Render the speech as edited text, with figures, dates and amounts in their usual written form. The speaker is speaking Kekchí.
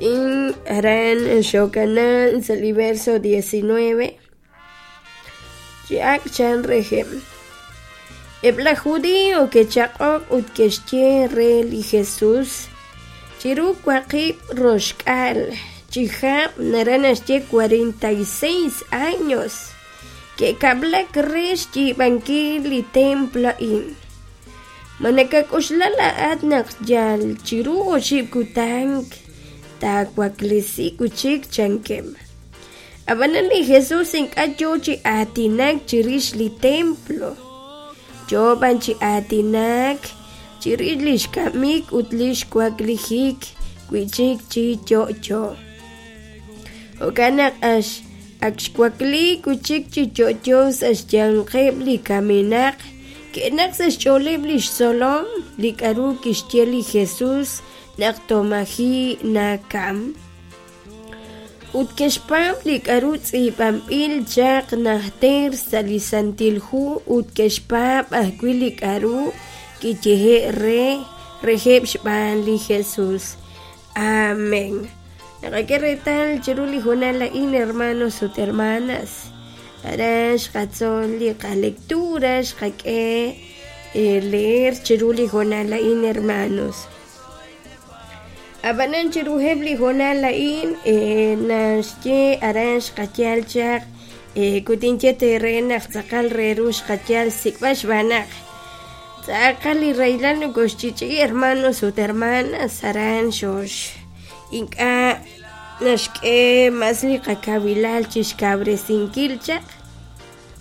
A'in aran xokana sa' li verso 19. Chi ak' chan reheb'. Eb' laj Judio ke'chaq'ok ut ke'xye re li Jesus, Chiru waqib' roxk'aal chihab' naraj naxye 46 años ke'kab'lak re xyiib'ankil li templo a'in. Ma nakak'oxla laa'at naq yal chiru oxib' kutan taawaklesi wi' chik? chankeb'. Ab'anan li Jesus ink'a' yoo chi aatinak chirix li templo, yoo b'an chi aatinak chirix lix kamik ut lix waklijik wi'chik chi yo'yo. Jo'kan naq ak xwakliik wi' chik chi yo'yo sa' xyanqeb' li kamenaq, ke'naq sa' xch'ooleb' lix tzolom li k'a'ru kixye li Jesus naq tomaji' nakam. Ut ke'xpaab' li k'a'ru tz'iib'anb'il chaq najter sa' li Santil Hu ut ke'xpaab' ajwi' li k'a'ru kiyehe' re reheb' xb'aan li Jesus. Amén. Naqak'e reetal chiru li hoonal a'in, hermanos ut hermanas, aran xqatzol li qalectura, xqak'e leer chiru li hoonal a'in, hermanos. Ab'anan chiruheb' li hoonal a'in naxye aran xqayal chaq kutinye teere naq tz'aqal re ru xqayal xsik'b'al xb'aan naq tz'aqal li rahilal nokoxch'i'ch'i'i hermanos ut hermanas aran xox ink'a' naxk'e mas li qakawilal chi xkawresinkil chaq.